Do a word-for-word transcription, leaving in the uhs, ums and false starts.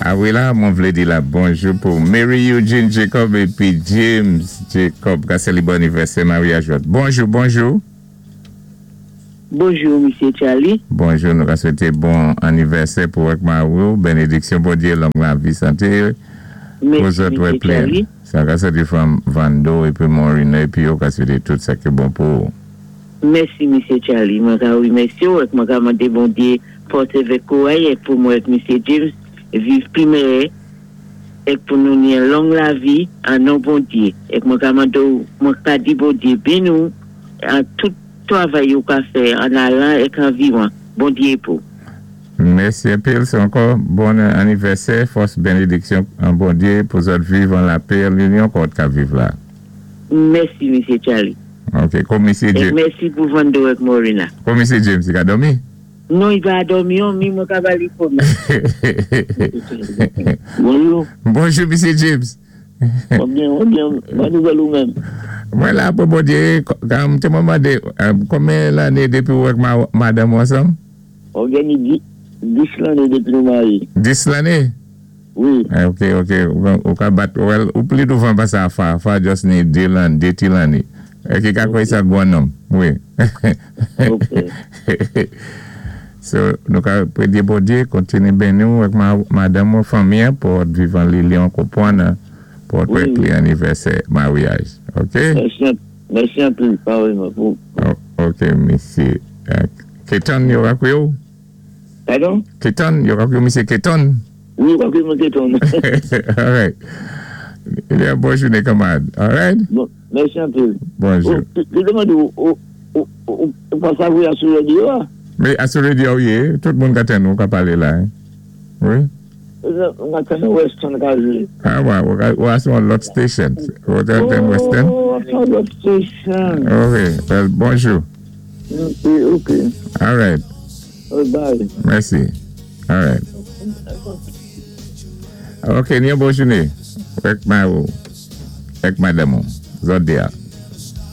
A wi la, mwen vlé di la bonjou pou Mary Eugene Jacob épi James Jacob ka sélébwé anniversaire maryaj. Bonjou, bonjou. Bonjou, Misyé Charlie. Bonjou, nou ka swété bon anniversaire pou ak mari, bénédiksyon Bondyé, long lavi, santé. Mèsi, Misyé Charlie. Sa ka swété fanm Vando épi Morina épi yo ka swété tout sa ki bon pou. Mèsi, Misyé Charlie. Mwen ka wimèsyé ou mwen ka mandé Bondyé fòs avèk kouray pou mwen ak Misyé James viv pi mèyè é pou nou ni long lavi an non Bondyé. É mwen ka mandé mwen ka di Bondyé béni ou an tout travay ou ka fè an alan é an vivan. Bondyé pou. Mèsi anpil, sé ankò bon anniversaire, fòs bénédiksyon an Bondyé pou zòt viv an lapè, linyon kon ka viv la. Mèsi, Misyé Charlie. OK, kòm Misyé É James. mèsi pou Vando ak Morina. Kòm Misyé James, i ka dòmi? Non, i pa dòmi, mi mwen ka ba li fon. Bonjou. Bonjou, Misyé James. Bon byen, bon byen. Bon nouvèl ou menm. Mwen la pou Bondyé, kan té mwen mandé, konbyen lanné dépi ou ak madanm ansanm? On genn dis lanné dépi nou maryé. Dis lanné? Wi. Ok, ok. Ou ka bat, ou pli douvan pasé a fa. Fa just ni dé lanné, dé ti lanné. Ki ka kwè sa gwan nonm. Wi. Ok. So, nou ka préyé Bondyé, kontiné béni ou ak madanm ou fanmi pou viv an linyon konpwann pou Wi. li anniversaire maryaj. Ok? Mèsi, mèsi anpil, parèyman. Pou... Ok, misyé. Keton, yo ka kwé ou? Padon? Keton, yo ka kwé misyé Keton? Wi, yo ka kwé mwen Keton. All right. Ebyen, bon jounen, kanmarad. All right? Bon, mèsi anpil. Bonjou. Ou, té mandé ou, ou, ou, ou, ou pa savwé sou radyo, a? Mé a sou radyo, wi, tout moun ka tann ou ka palé la. Hein? Wi? Mwen tann Western ka jwé. Ah, wè, ou a sou lòt station. Ou tann Western? Oh, sou lòt station. Ok, well, bonjou. Ok, ok. All right. Oh, bye. Mèsi. All right. Ok, ni yon bon jounen. Ak ma ou. Ak madanm ou. Zòt dé a.